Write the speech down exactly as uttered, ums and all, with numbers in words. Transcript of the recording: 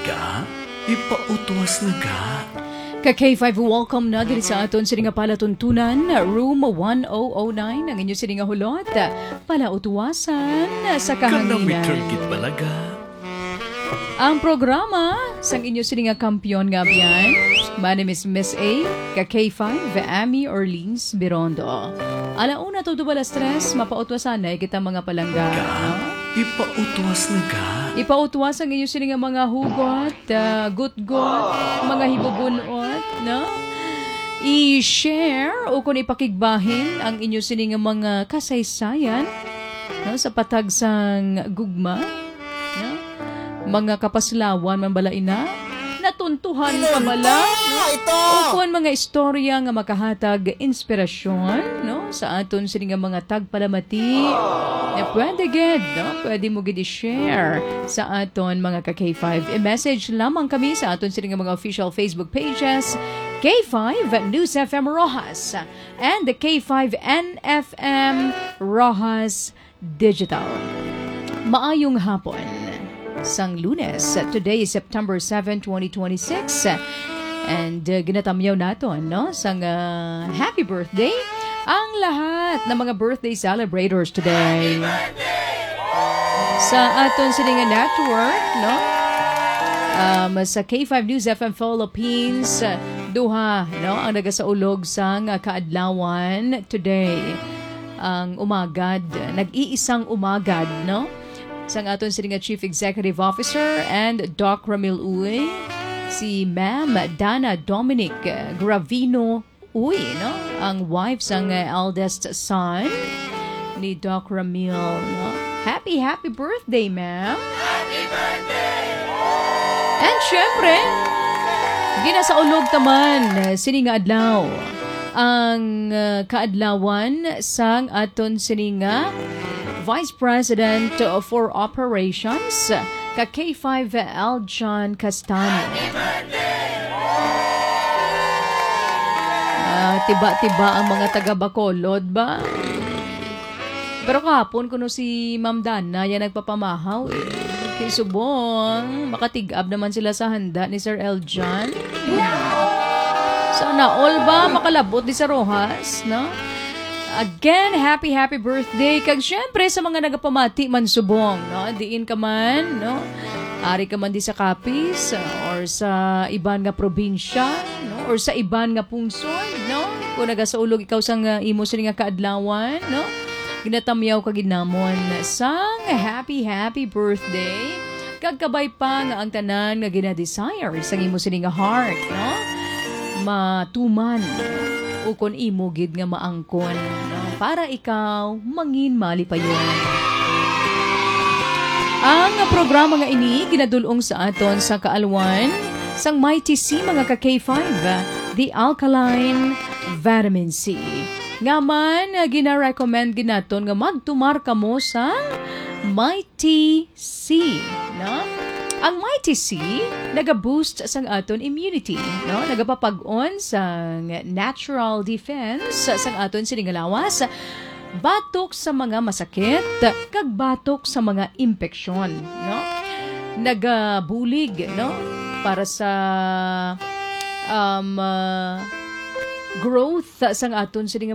Ga, ipautwas na ga. Ka K five, welcome na diri sa aton sini nga palatuntunan, Room one oh oh nine, ang inyo sini nga hulot. Palautwasan sa Kanami kahanginan. Turgid balaga. Ang programa sang inyo sini nga kampiyon nga abyan. My name is Miss A, ka K five, Amy Orleans Birondo. Ala una tugtog alas tres, mapautwasanay kita, mga palangga, Ga, no? Ipautwas na ga. Ipautwas ang inyo sini nga mga hugot, ah, gutgot, mga hibubunot, no? I-share o kung ipakigbahin ang inyo sini nga mga kasaysayan, no, sa patag sang gugma, no? Mga kapaslawan man bala ina, natuntuhan pa bala, no? Ito, ito. O kung mga istorya nga makahatag inspirasyon, no, sa aton sini nga mga tagpalamati, na pwede gid, no? Pwede mo gid i-share sa aton mga ka K five. I-message lamang kami sa aton sini nga mga official Facebook pages, K five News F M Roxas and the K five N F M Roxas Digital. Maayong hapon. Sang Lunes, today is September seven, twenty twenty-six. And, uh, ginatamyaw naton, no, sang, uh, happy birthday ang lahat ng mga birthday celebrators today. Sa aton sini nga network, no, um, sa K five News F M Philippines, duha, no, ang nagasaulog sang kaadlawan today. Ang umagad, nag-iisang umagad, no? Sang aton sini nga Chief Executive Officer and Doc Ramil Uy, si Ma'am Dana Dominic Gravino Uy, no? Ang wife sang, uh, eldest son ni Doc Ramil, no? Happy, happy birthday, ma'am! Happy birthday! And syempre, ginasaulog taman, uh, sini nga adlaw ang, uh, kaadlawan sang aton sini nga Vice President for Operations, ka K five Aljan Castaño. Ah, tiba-tiba ang mga taga Bacolod ba? Pero kahapon kuno si Ma'am Dana yan nagpapamahaw eh. Kay subong, makatig-ab naman sila sa handa ni Sir Eljan. Sana all ba makalabot di sa Roxas, no? Again, happy, happy birthday. Kag syempre sa mga nagapamati man subong, no? Diin ka man, no? Ari ka man di sa Capiz, or sa iban nga probinsya, no? Or sa iban nga pungsod, no? Kung nagasaulog ikaw sang, uh, imo sini nga kaadlawan, no? Ginatamyaw ka gid namon sang happy, happy birthday. Kag kabay pa nga ang tanan nga gina-desire sang imo sini nga heart, no? Matuman, ukon imo gid nga maangkon, no? Para ikaw mangin malipayon. Ang programa nga ini ginadul-ong sa aton sa kaalwan sang Mighty C, mga ka K five, the Alkaline Vitamin C. Nga man, gina-recommend gid naton nga magtumar kamo sang Mighty C, no? Ang Mighty C naga-boost sang aton immunity, no? Nagapapag-on sang natural defense sang aton sini nga lawas batok sa mga masakit kag batok sa mga impeksyon, no? Nagabulig, no? Para sa, um, uh, growth sang aton sini nga